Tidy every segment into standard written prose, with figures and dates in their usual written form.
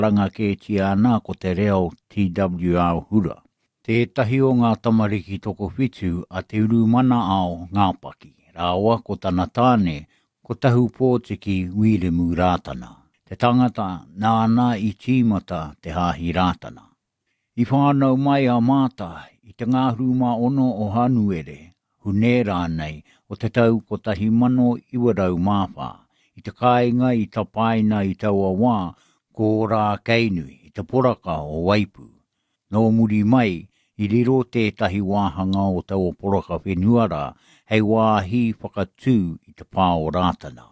Karanga kētia ana ko te reo TWR Hura, tētahi o ngā tamariki tokowhitu a Te Urumanaao Ngāpaki rāua ko tana tāne ko Tahupōtiki Wiremu Rātana, te tangata nāna i tīmata te Hāhi Rātana. I whānau mai a Maata i te ngahuru mā ono o Hānuere, Hune rānei, o te tau 1904, i te kāinga i tapaina i taua wā ko Ōrākeinui, i te poraka o Waipū. Nō muri mai, i riro tētahi wāhanga o taua poraka whenua rā hei wāhi whakatū i te pā o Rātana.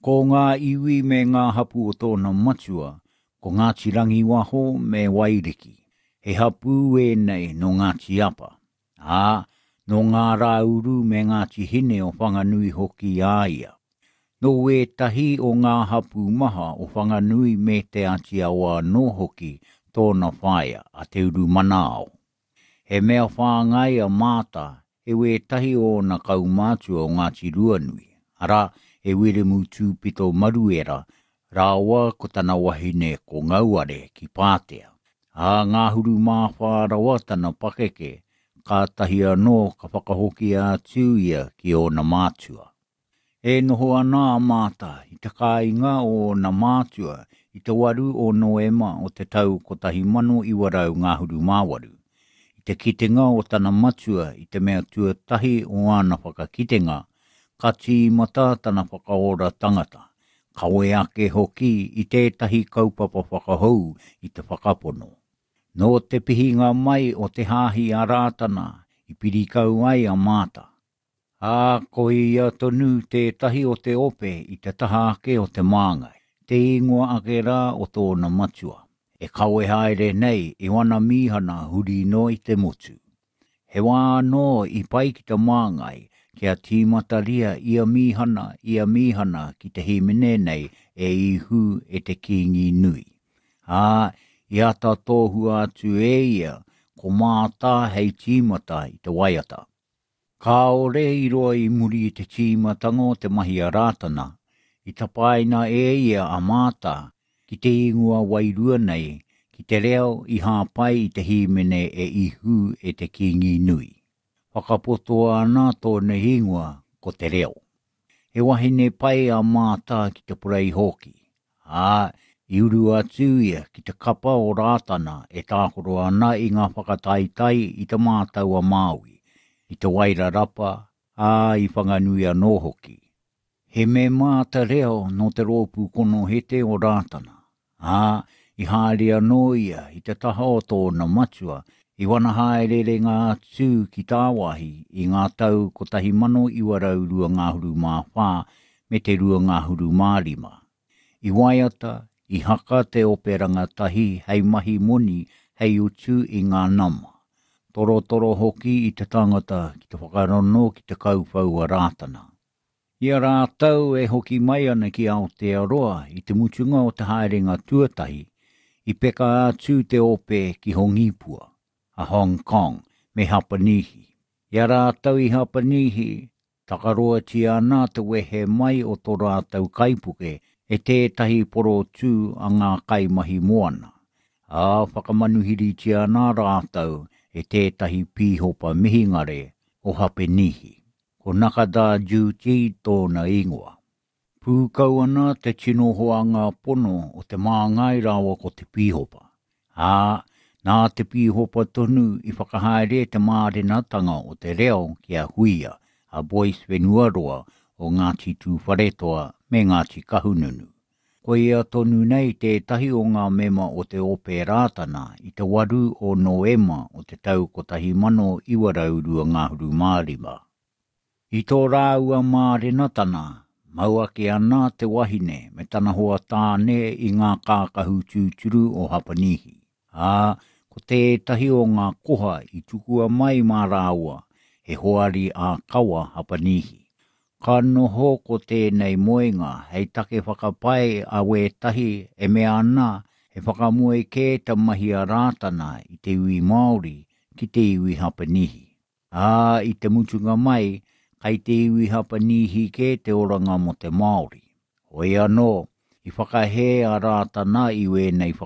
Ko ngā iwi me ngā hapū o tōna matua, ko Ngāti Rangiwaho me Wairiki. He hapū ēnei nō Ngāti Apa, ā, nō Ngā Rāuru me Ngāti Hine o Whanganui hoki a ia. Nō ētahi o ngā hapū maha o Whanganui me Te Āti Awa anō hoki tōna whaea, a Te Urumanaao. He mea whāngai a Maata e wētahi o ōna kaumātua o Ngāti Ruanui, arā, e Wiremu Tūpito Maruera rāua ko tana wahine ko Ngauare ki Pātea. Ā, ngahuru mā whā rawa tana pakeke, kātahi anō ka whakahokia atu ia ki ōna mātua. E noho ana a Maata i te kāinga o ōna mātua i te 8 o Noema o te tau 1928. I te kitenga o tana matua i te mea tuatahi o āna whakakitenga, ka tīmata tana whakaora tangata, kawe ake hoki i tētahi kaupapa whakahou i te whakapono. Nō te pihinga mai o te Hāhi a Rātana i piri kau ai a Maata. Ā, ko ia tonu tētahi o te ope i te taha ake o te māngai, te ingoa ake rā o tōna matua, e kawe haere nei i wana mīhana huri noa i te motu. He wā anō i pai ki te māngai kia tīmataria ia mīhana, ia mīhana ki te hīmene nei e Ihu e te Kīngi nui. Ā, i āta tohua atu e ia ko Māta hei tīmata i te waiata. Kāore i roa i muri i te tīmatanga o te mahi a Rātana, i tapaina e ia a Māta ki te ingoa wairua nei, ki te reo i hāpai i te hīmene e Ihu e te Kīngi nui. Whakapotoa ana tōna ingoa ko Te Reo. He wahine pai a Māta ki te porei hoki, ā, i uru atu ia ki te kapa o Rātana e tākaro ana i ngā whakataetae i Te Mātau-a-Māui, i Te Wairarapa, ā, i Whanganui anō hoki. He mema te reo nō te Rōpū Konohete o Rātana, ā, i haere anō ia i te taha o tōna matua i wana hāereerenga atu ki tāwāhi i ngā tau 1924 me te 25. I waiata, i haka te ope rangatahi hei mahi moni hei utu i ngā nama, torotoro hoki i te tangata ki te whakarono ki te kauwhau a Rātana. I a rātou e hoki mai ana ki Aotearoa i te mutunga o te haerenga tuatahi, i peka atu te ope ki Hongipua, a Hong Kong, me Hapanihi. I a rātou i Hapanihi, takaroatia ana te wehe mai o tō rātou kaipuke e tētahi porotū a ngā kaimahi moana, ā, whakamanuhiritia ana rātou e tētahi pīhopa mihingare o Hapenihi. Ko Nakada Juti tōna ingoa. Pūkau ana te tino hoanga pono o te māngai rāua ko te pīhopa, ā, nā te pīhopa tonu i whakahaere te mārenatanga o te reo ki a Huia, a Boyce Whenuaroa o Ngāti Tūwharetoa me Ngāti Kahungunu. Ko ia tonu nei tētahi o ngā mema o te Ope Rātana i te 8 o Noema o te tau 1925. I tō rāua mārenatana, mau ake ana te wahine me tana hoa tāne i ngā kākahu tūturu o Hapanihi, ā, ko tētahi o ngā koha i tukua mai mā rāua he hoari ā-kawa Hapanihi. Ka noho ko tēnei moenga hei take whakapae a wētahi e mea ana he whakamoe kē te mahi a Rātana i te iwi Māori ki te iwi Hapanihi. Ā, i te mutunga mai, kai te iwi Hapanihi kē te oranga mō te Māori. Hoi anō, i whakahē a Rātana i wēnei whakapae.